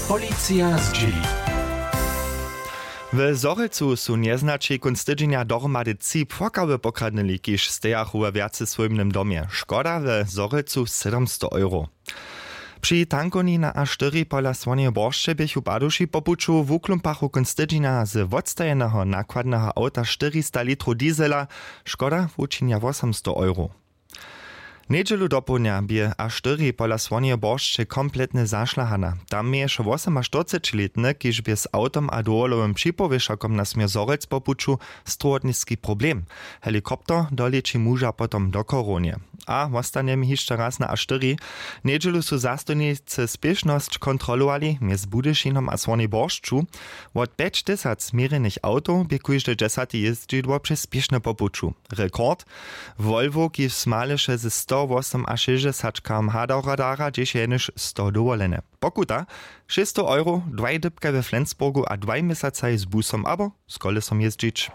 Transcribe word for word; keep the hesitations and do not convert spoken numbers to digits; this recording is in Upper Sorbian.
Policija zdźěli. W Zhorjelcu su njeznaći kónc tydźenja dohromady tři płokawy pokradnyli, kiž stejachu we wjace swójbnym domje. Škoda w Zhorjelcu sedymsto euro. Při tankowni na A štyri pola Słoneje Boršće běchu paduši po puću wuklumpachu kónc tydźenja z wotstajeneho nakładneho awta štyrista litrow diesela. Škoda wučinja wosomsto euro. Njedźelu dopołdnja bě A štyri pola Słoneje Boršće kompletnje zašlahana. Tam měješe wosomaštyrcećilětny, kiž bě z awtom a dowolowym připowěšakom na směr Zhorjelc po puću strowotniski problem. Helikopter doleći muža potom do Chorownje. A wostanjemy hišće raz na A štyri. Njedźelu su zastojnicy spěšnosć kontrolowali mjez Budyšinom a Słonej Boršću. Wot pjećtysac měrjenych awtow bě kóžde dźesate jězdźidło přez spěšne po puću. Rekord: Volvo, kiž smaleše ze sto wosomašěsćdźesat km h do radara, dźěše jenož sto dowolene. Pokuta: šěsćstow euro, dwaj dypkaj we Flensburgu a dwaj měsacaj z busom abo z kolesom jězdźić.